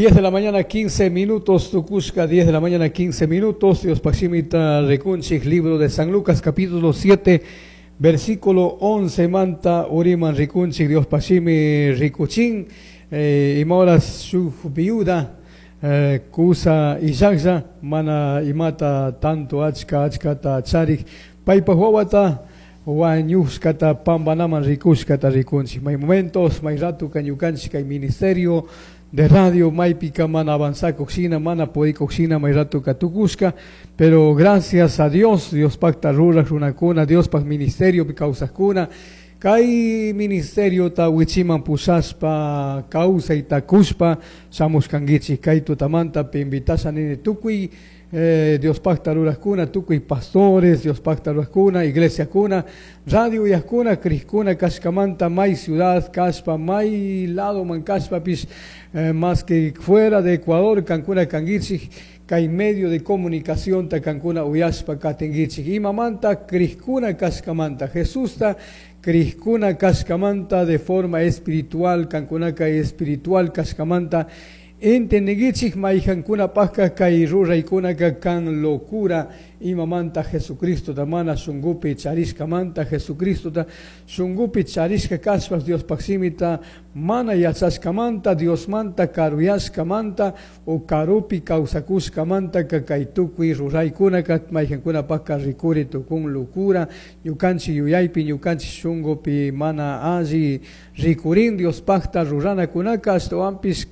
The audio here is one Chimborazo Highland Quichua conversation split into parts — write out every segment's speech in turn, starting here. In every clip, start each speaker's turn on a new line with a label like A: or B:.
A: 10 de la mañana 15 minutos, tucushca, 10 de la mañana 15 minutos, Diospaj shimita ricunchij, libro de San Lucas, capítulo 7, versículo 11, manta uriman ricunchij, Diospaj shimi ricuchin, ima horas shuj viuda, cusa illajlla, mana imata tanto achka achkata charij, paypaj wawata wañushkata pambanaman ricushkata ricunchik. May momentos, may ratuka ñukanchik kay ministerio de radio maypika mana avanzakuq mana purikuq may ratuka tukushka, pero gracias a Dios, Diospajta ruraj runakuna, Diospaj ministerio kawsajkuna, kay ministeriota wichiman pushashpa kawsayta kushpa shamushkankichik. Kay tutamanta invitasha nini tukuy Diospajta rurajkuna, tukuy pastores, Diospajta rurajkuna, iglesiakuna, radio uyajkuna, crijkuna kashkamanta may ciudad kashpa, may ladoman kashpapish, más que fuera de Ecuador, kankuna kankichik, kay medio de comunicación ta kankuna uyashpa katinkichik. Imamanta crijkuna kashkamanta, Jesusta crijkuna kashkamanta de forma espiritual, kankunaka espiritual kashkamanta, entendinkichik mayjankunapajka kay ruraykunaka kan locura. Imamanta Jesucristo mana shunkupi charishkamanta, Jesucristota shunkupi charishka kashpas Diospaj shimita mana yachashkamanta, Diosmanta karuyashkamanta o karupi kawsakushkamanta kay tukuy ruraykunaka mayjankunapajka rikuri tukun locura. Ñukanchik yuyaypi, ñukanchik shunkupi mana alli rikurin Diospajta ruranakunaka, ashtawanpish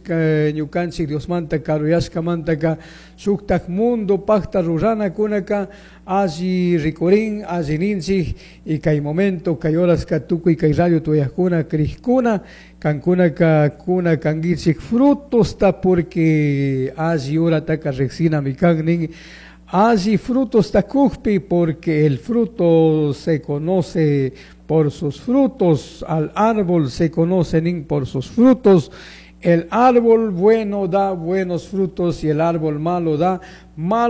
A: ñukanchik Diosmanta karuyashkamantaka shuktak mundo pajta ruranakunaka alli rikurin, alli ninchik. Y kay momento, kay horaska tukuy kay radio tuyajkuna, crijkuna, kankunaka kuna kankichik frutosta, porque alli horataka riqsinami kan nin alli frutos kujpi, porque el fruto se conoce por sus frutos, al árbol se conoce por sus frutos. El árbol bueno da buenos frutos y el árbol malo da malos.